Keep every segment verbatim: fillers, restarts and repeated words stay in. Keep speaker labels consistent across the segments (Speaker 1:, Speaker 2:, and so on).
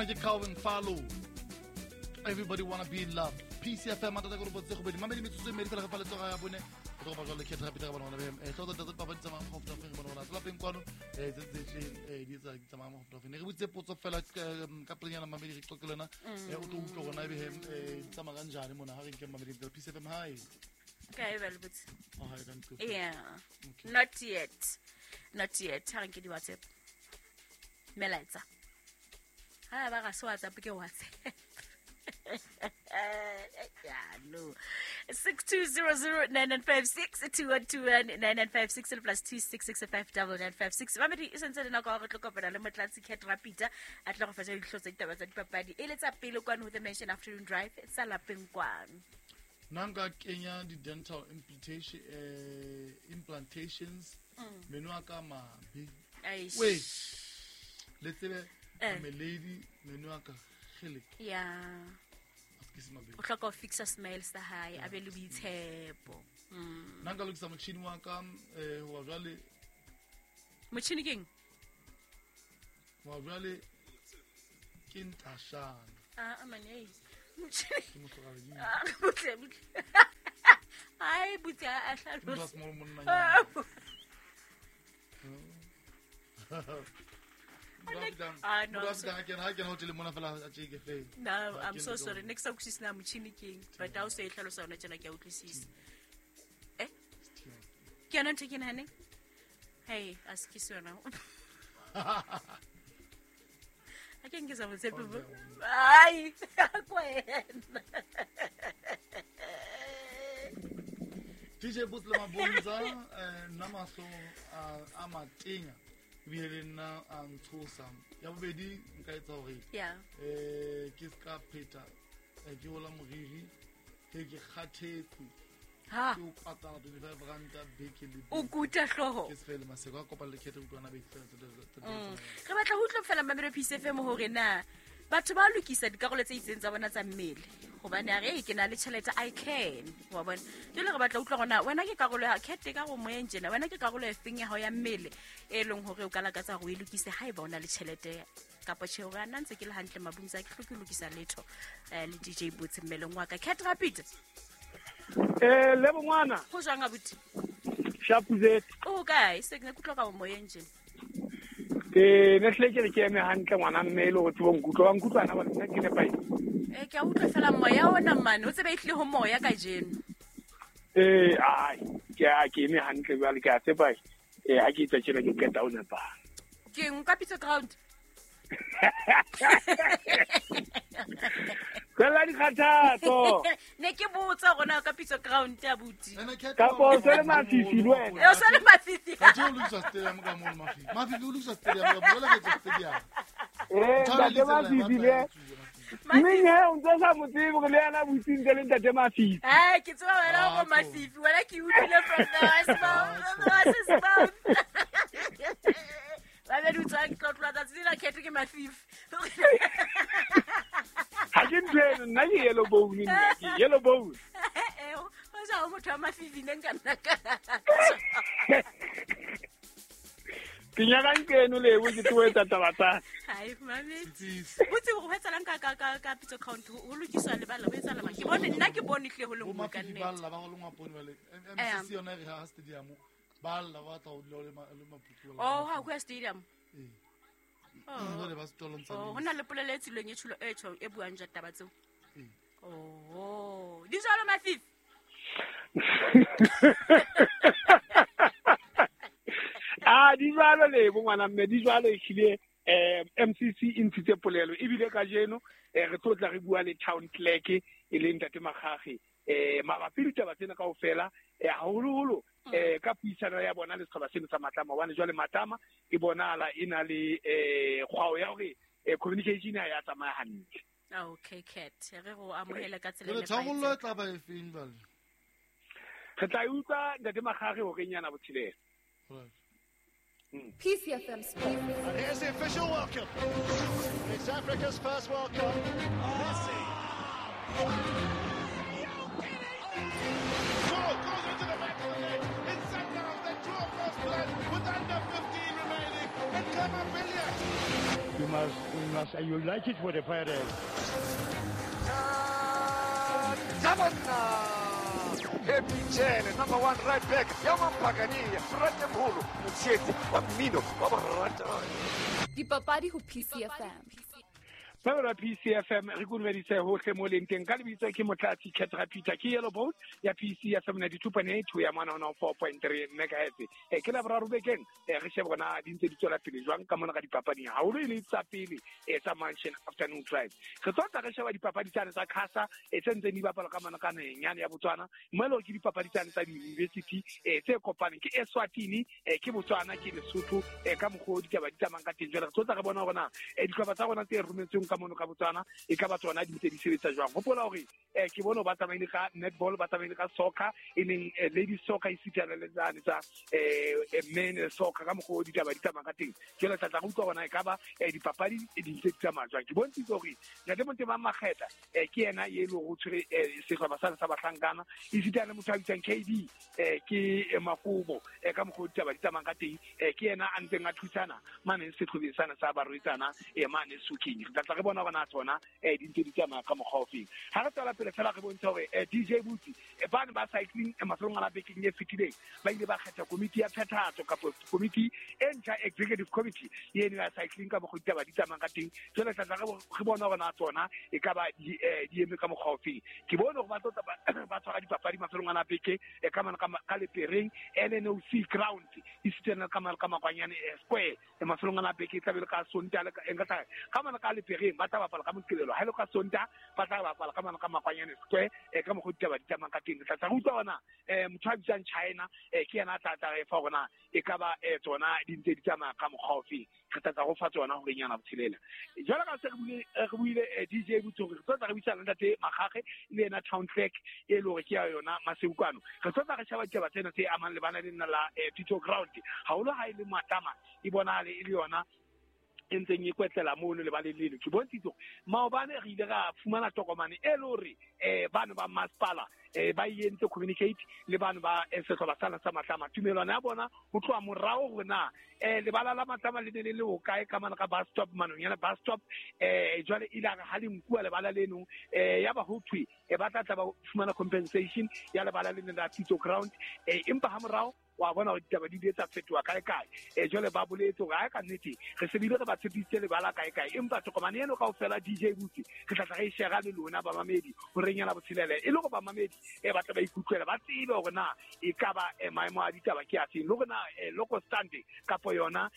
Speaker 1: Ona ke Calvin Fallow. Everybody wanna be in love. P C F M matata go botse go bedi. Mamedi metsotso e mmedi fela ge fa letsoga ya bone. Go ba jwale Cat Rapita ba bona be. Eh tlo tsa tsa ba tsamaya go feta go bona bona. Tla peng kwano eh tse tse eh di tsa tsamaya go feta. Ne re botse potso fela ka pelenyana mamedi re qoqe lena. Eh o tlo utlwa gona ebe eh tsamaya kanjani mona ha re nke mamedi P C F M hi.
Speaker 2: Okay, well, but
Speaker 1: oh, I can't.
Speaker 2: Yeah.
Speaker 1: Okay.
Speaker 2: Not yet. Not yet. Ha re nke di WhatsApp. Melaetsa. Ha ba ga se WhatsApp ke WhatsApp. Yeah, no. six two zero zero nine nine five six two one two one nine nine five six plus two six six five double nine five six. Mamedi e sentse le nako ya go tlo kopana le Motlatsi Cat Rapita a tla go fetsa ditlho tsa ditaba tsa dipapadi e le tsa pele kwano ho The Mansion Afternoon Drive tsa lapeng kwano.
Speaker 1: Nanga Kenya di dental implantation eh, implantations meno a ka mabe. Wait. Let's say I'm a lady meno a ka gele.
Speaker 2: Yeah. O hloka ho fixa smile sa hae a be le boitshepo. Mm.
Speaker 1: Nanga lokisa motjhini wa ka eh wa jwale.
Speaker 2: Motjhini keng?
Speaker 1: Wa jwale ke ntashana.
Speaker 2: Ah, mane.
Speaker 1: Ke motlogadi.
Speaker 2: Ah, butle butle. Ai butle a hlalosa.
Speaker 1: Motho a monna nyana.
Speaker 2: Ah no. No, I'm so sorry. Next time ukusisina motjhini keng, but ha o se e hlalosa yona tjena ke a utlwisisa. Eh? Ke yona ntho e ke nahaneng? Hey, a se ke sona. A ke nke sa mo tshepe bo. Ai, kwena.
Speaker 1: D J Boots le Mabonza eh nna mahlo a matenya ebile le nna a ntshosa. Ya bobedi nka etsa hore
Speaker 2: yeah
Speaker 1: eh ke ska pheta ke hola moriri ke ke kgathetse.
Speaker 2: Ha
Speaker 1: ke o patala twenty-five ranta beke le
Speaker 2: o kuta hloho
Speaker 1: ke sefele maseko a kopana le khethe utlwana be fela.
Speaker 2: Re batla ho utlwa fela Mamelo P C F M hore na batho ba lokisa dikarolo tse itseng tsa bona tsa mmele hobane a re ke na le tjhelete I can wa bona. Jwale re batla utlwa gona wena ke karolo ya khethe ka go moyeng tjena wena ke karolo e feng ya hao ya mmele e leng hore o ka lakatsa hore o e lokise haeba o na le tjhelete kapa tjhe hore nna ntse ke le hantle mabung tsa ke hloke lokisa letho le D J Boots mmeleng wa ka. Cat Rapid.
Speaker 3: Eh le bongwana.
Speaker 2: Go jwang abuti?
Speaker 3: Shapuzet.
Speaker 2: O kae? Se ke ne kutlwa ka moyeng tjena.
Speaker 3: Ke ne hle ke le ke eme hantle ngwana mme le go tsebo nkutlwa wa nkutlwa na ba nna ke nepae.
Speaker 2: Eh ke a utlwa fela moya ona mane o tsebe itle ho moya ka jeno.
Speaker 3: Eh ai ke a ke eme hantle jwale ke a tseba eh ha ke itse tjena ke qeta o nepa.
Speaker 2: Ke nka pitso ground.
Speaker 3: Fela dikgathatso.
Speaker 2: Ne ke botsa gona ka pitso ground abuti.
Speaker 3: Ka po se le mafifi le wena.
Speaker 2: E o se le mafifi.
Speaker 1: Ka tlo lokisa stadium ka mo mafifi. Mafifi o lokisa stadium ka bola ke stadium.
Speaker 3: Eh ntate mafifi le. Mme he o ntse sa mo tsebe gore le yena butsi ntse le ntate mafifi.
Speaker 2: Eh ke tseba wena go mafifi wena ke utlwile from the west mouth. Ba be dutsa ke tlo tloa tsatsi la khetho ke mafifi.
Speaker 3: Ha ke ntweno nna ke yellow bone nna ke yellow bone.
Speaker 2: Eh o ja o motho wa mafifi ne nka nna ka.
Speaker 3: Ke nyaka nkeno le bo ke tlo etsa taba tsa.
Speaker 2: Hai mame. Botse go etsalang ka ka ka ka pitso count ho lokiswa lebala ho etsala mang. Ke bone nna ke bone hle ho le nngwe ka nnete.
Speaker 1: Ba ba go lengwa pone bale M C C yona re ha stadium ba lla ba tla o dula le maputu.
Speaker 2: Oh ha go stadium.
Speaker 1: Eh.
Speaker 2: Oh, oh, hona le polelo e tsilweng e tsholo e tjho e buang ja taba tseo. Oh, di jwalo mafifi.
Speaker 3: Ah, di jwalo le bo ngwana mme di jwalo ehlile eh M C C e ntshitse polelo ebile kajeno re tlo tla re bua le town clerk e leng ntate Makgage eh mabapi le taba tsena kaofela eh haholoholo eh ka puisano ya bona le setjhaba seno sa Matlama hobane jwale Matlama e bonahala e na le eh kgwao ya hore communication ha ya tsamaya hantle.
Speaker 2: Okay Cat re go amohela ka tsela
Speaker 1: e nepahetseng. Re tla ba e feng jwale?
Speaker 3: Re tla utlwa ntate Makgage hore nyana botshelela.
Speaker 1: Right.
Speaker 3: Mm.
Speaker 4: P C F M Sports.
Speaker 5: And here's the official welcome. It's Africa's first World Cup. Messi. Goal goes into the back of the net. It's Sundowns that draw first blood with under fifteen remaining. And Khama Billiat.
Speaker 4: You must, you must, you like it for the Pirates.
Speaker 6: Happy number one right back. Yaman Pagani, Ratemholo, Mutsheti, wa mmino, wa borata.
Speaker 7: Dipapadi ho P C F M.
Speaker 3: Ba P C F M re kumedise hohle mo leng teng ka lebitso ke Motlatsi Ketra Peter ke Yellow Boat ya P C F M ninety-two point eight ho ya mona one oh four point three megahertz. E ke la boraro bekeng re shebe bona di ntse di tswela pele jwang ka mona ka dipapading haholo e le tsa pele e tsa Mansion Afternoon Drive. Re tlo tla re sheba dipapadi tsane tsa Khasa e tse ntseng di bapala ka mona ka naheng yane ya Botswana mo e leng ke dipapadi tsane tsa di-university e tse kopaneng ke Eswatini e ke Botswana ke Lesotho e ka mokgwa o ditaba di tsamayang ka teng. Jwale re tlo tla re bona hore na dihlopha tsa rona tse rometsweng ka mono ka Botswana e ka ba tsona di ntse di sebetsa jwang. Hopola hore eh ke bone ba tsamaile ka netball, ba tsamaile ka soccer e leng ladies soccer e sitana le tsane tsa eh men soccer ka mokgwa o ditaba di tsamaya ka teng. Jwale tla tla re utlwa hore na e ka ba dipapadi di ntse di tsamaya jwang. Ke bontshitse hore Ntate Montema Makgetha eh ke yena e leng ho tshwere sehlopha sa sa bahlankana e sitana le motho a bitswang K D eh ke Makobo eh ka mokgwa o ditaba di tsamayang ka teng eh ke yena a ntseng a thusana mane sehlopeng sana sa barwetsana eh mane Suking. Re tla re bona hore na tsona eh di ntse di tsamaya ka mokgwa ofeng. Ha re tswela pele fela re bontsha hore D J Butsi ba ne ba cycling mafelong a bekeng e fetileng ba ile ba kgetha komiti ya phethahatso kapa komiti e ntjha executive committee eno ya cycling ka mokgwa ditaba di tsamayang ka teng. Jwale tla tla re bona hore na tsona e ka ba di eme ka mokgwa ofeng. Ke bone hore ba tlo ba tshwara dipapadi mafelong a beke ka mane ka Lepereng L N O C ground e sitana ka mane ka Makwanyane Square mafelong a beke e tla be le ka Sontaha le ka ka mane ka Lepereng ba tla bapala ka Moqebelo ha ile ka Sontaha ba tla bapala ka mane ka Makwanyane Square e ka mokgwa ditaba di tsamayang ka teng. Tla tla re utlwa hore na motho a bitswang China ke yena a tla tla re fa hore na e ka ba tsona di ntse di tsamaya ka mokgwa ofeng. Re tla tla go fa tsona hore nyana botshelela. Jwale ka se re buile re buile D J Butsi hore re tlo tla re buisana le Ntate Makgakge le yena town clerk e le hore ke ya yona Masebukwano. Re tlo tla re sheba ditaba tsena tse amang le bana le nna la Tito Ground haholo ha e le Matlama e bonahale e le yona e ntseng e kwetlela mono lebaleng leno. Ke bontshitse hore maobane re ile ra fumana tokomane e le hore eh bano ba masepala eh ba entse communicate le bano ba sehlopha sana sa Matlama. Tumelwana ya bona ho tloha morao hore na eh lebala la Matlama le ne le le hokae ka mane ka bus stop manong yana bus stop eh jwale ile a re ha le nkuwa lebala leno eh ya ba ho thwe e ba tla tla ba fumana compensation ya lebala leno la Tito Ground eh empa ha morao wa bona hore ditaba di ile tsa fetoha kae kae eh jwale ba boletse hore ha ka nnete re se bile re ba tshepisitse lebala kae kae empa tokomane eno kaofela D J Butsi re tla tla re e shera le lona bamamedi hore nyana botshelele e le hore bamamedi e ba tla ba ikutlwela ba tsebe hore na e ka ba maemo a ditaba ke afeng le hore na local stand kapa yona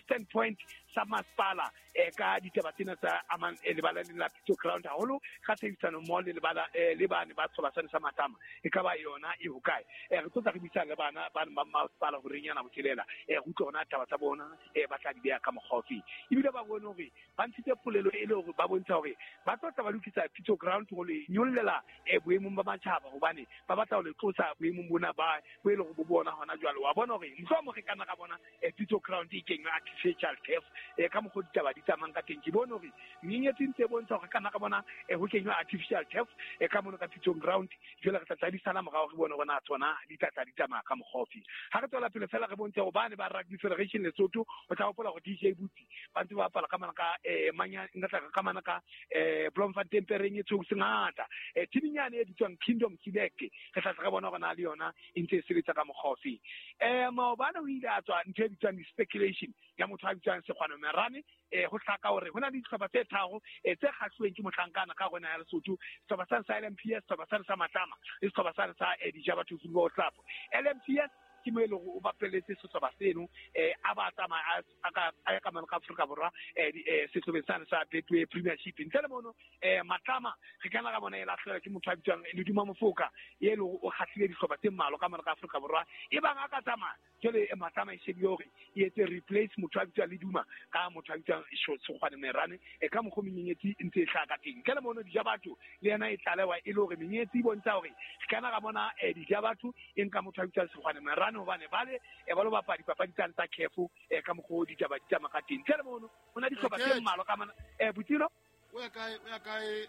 Speaker 3: standpoint sa masepala ka ditaba tsena tsa amang lebala le la Tito Ground haholo ka tshebedisano mmoho le lebala le bane ba sehlopha sane sa Matlama e ka ba yona e hokae. Re tlo tla re buisana le bana ba ba masepala hore nyana botshelela e re utlwe hona taba tsa bona e ba tla di beha ka mokgwa ofeng. Ebile ba bone hore ba ntshitse polelo e le hore ba bontsha hore ba tlo tla ba lokisa Tito Ground ho le nyollela boemong ba matjhaba hobane ba batla ho le tlosa boemong bona ba bo e le hore bo bona hona jwale. Wa bona hore mohlomong re kana ka bona Tito Ground e kenywa artificial turf e ka mokgwa ditaba di tsamayang ka teng. Ke bone hore menyenyetsi ntse e bontsha hore kana ka bona ho kenywa artificial turf e ka mono ka Tito Ground. Jwale re tla tla di sala morao re bone hore na tsona di tla tla di tsamaya ka mokgwa ofeng. Ha re tswela pele fela re bontshe hore bane ba Rugby Federation Lesotho o tla hopola hore D J Butsi ba ntse ba bapala ka mana ka eh manya nka ka mana ka eh Bloemfontein Pereng e tshweu sengata eh team-nyane e bitswang Kingdom Select re tla tla re bona hore na le yona e ntse e sebetsa ka mokgwa ofeng. Eh maobane ho ile a tswa ntho e bitswang speculation ya motho a bitswang Sekgwano Merane eh ho hlaka hore hona le dihlopha tse tharo eh tse kgahluweng ke mohlankana ka rona ya Lesotho, sehlopha sa sa L M P S, sehlopha sa sa Matlama le sehlopha sa sa Dijabatho Football Club. L M P S ke mo e leng hore o bapelletse sehlopha seno eh a ba tsamaya a ka a ka mane ka Afrika Borwa eh sehlopheng sane sa Betway Premiership. Ntle le mono eh Matlama re kana ka bona e lahlehelwa ke motho a bitswang Leduma Mofoka e leng hore o kgahlile dihlopha tse mmalwa ka mane ka Afrika Borwa e bang a ka tsamaya jwale Matlama e shebile hore e etse replace motho a bitswang Leduma ka motho a bitswang Sekgwane Merane e ka mokgwa menyenyetsi e ntse e hlaha ka teng. Ntle le mono Dijabatho le yena e tlalewa e le hore menyenyetsi e bontsha hore re kana ka bona Dijabatho e nka motho a bitswang Sekgwane Merane hobane bale e ba lo bapala dipapadi tsane tsa Kefo e ka mokgwa ditaba di tsamaya ka teng. Ntle le mono ho na dihlopha tse mmalwa ka mana eh Butiro
Speaker 1: o ya kae o ya kae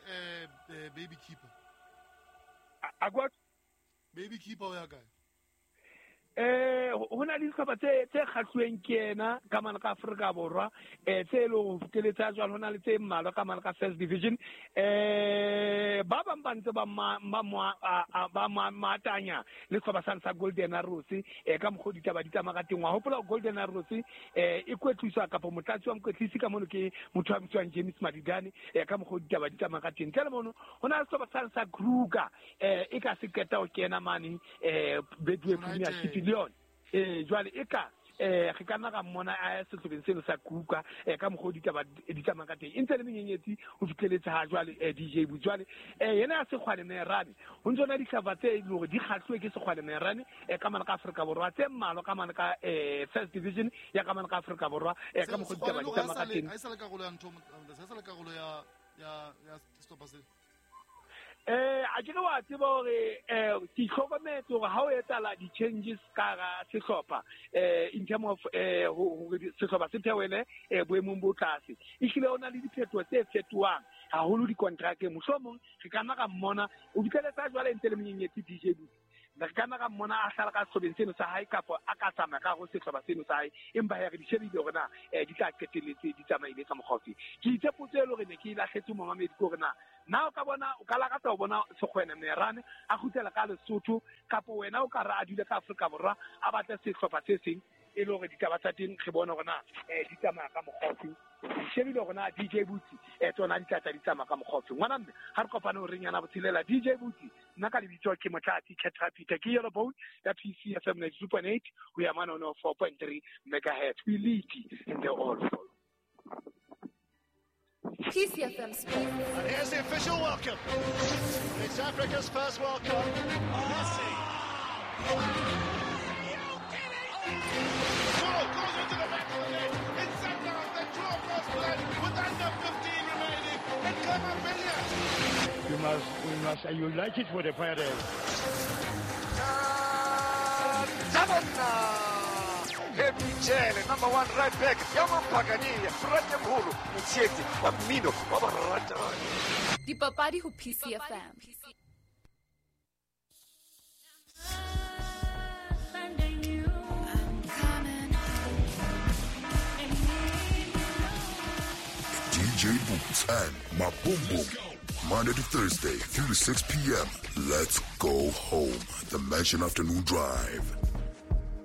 Speaker 1: eh baby keeper
Speaker 3: a kwa
Speaker 1: baby keeper o ya kae
Speaker 3: Eh ho na le dihlopha tse tse kgahluweng ke yena ka mane ka Afrika Borwa eh tse leng ho feteletsa jwalo ho na le tse mmalwa ka mane ka First Division eh ba bang ba ntse ba ba ba matanya le sehlopha sane sa Golden Arrows eh ka mokgwa ditaba di tsamaya ka teng. Wa hopola Golden Arrows eh e kwetliswa kapa motlatsi wa mokwetlisi ka mono ke motho a bitswang James Madidane eh ka mokgwa ditaba di tsamaya ka teng. Ntle le mono ho na le sehlopha sane sa Kruger eh e ka se qeta ho kena mane eh Betway Premiership le yona eh jwale e ka eh re ka nna ra mmona a sehlopheng seno sa Kruger eh ka mokgwa ditaba di tsamaya ka teng e ntse le menyenyetsi ho fihleletse ha jwale eh D J Bujwale eh yena ya Sekgwane Merane ho ntse na dihlopha tse e leng hore di kgahluwe ke Sekgwane Merane eh ka mane ka Afrika Borwa tse mmalwa ka mane ka eh First Division ya ka mane ka Afrika Borwa eh ka mokgwa ditaba di tsamaya ka teng.
Speaker 1: Ha e sa le karolo ya ntho, ha e sa le karolo ya ya ya sehlopha se.
Speaker 3: Eh a ke wa tseba hore eh ke hlokometse hore ha o etsahala di-changes ka hara sehlopha eh in term of eh hore sehlopha se theohele eh boemong bo tlase ehlile ho na le diphetoho tse fetohang haholo dikontrakeng. Mohlomong re ka nna ra mmona o fitlheletse jwale ntse le monyenyetsi D J Butsi re ka nna ra mmona a hlala ka sehlobeng seno sa hae kapa a ka tsamaya ka hare ho sehlopha seno sa hae, empa he re di shebile hore na eh di tla qetelletse di tsamaile ka mokgwa ofe. Ke itse potso e le hore ne ke e lahletse momamedi ke hore na na o ka bona o ka lakatsa ho bona Sekgwane Merane a kgutlela ka Lesotho kapa wena o ka re a dule ka Afrika Borwa a batle sehlopha se seng e le hore ditaba tsa teng re bone hore na eh di tsamaya ka mokgwa ofe. Re shebile hore na D J Butsi eh tsona di tla tla di tsamaya ka mokgwa ofe. Ngwana mme ha re kopane ho reng yana botshelela D J Butsi nna ka lebitso ke Motlatsi Caterpillar ke Yellow Bone ya P C F M ninety-two point eight ho ya mane ho four point three megahertz. We lead and they all follow.
Speaker 7: P C F M Sports.
Speaker 5: And here's the official welcome. It's Africa's first World Cup. Messi.
Speaker 8: Goal goes into the back of the net. It's Sundowns that draw first blood with under fifteen remaining. And Clement Billiard.
Speaker 4: You must, we must, you like it for the Pirates.
Speaker 6: Michele, number one right back, ya Mampakania, Frate Mholo, Motsheetsi wa mmino wa boratani.
Speaker 7: Dipapadi ho P C F M.
Speaker 9: D J Boots and Maboom. Monday to Thursday, three to six p.m. Let's go home. The Mansion Afternoon Drive.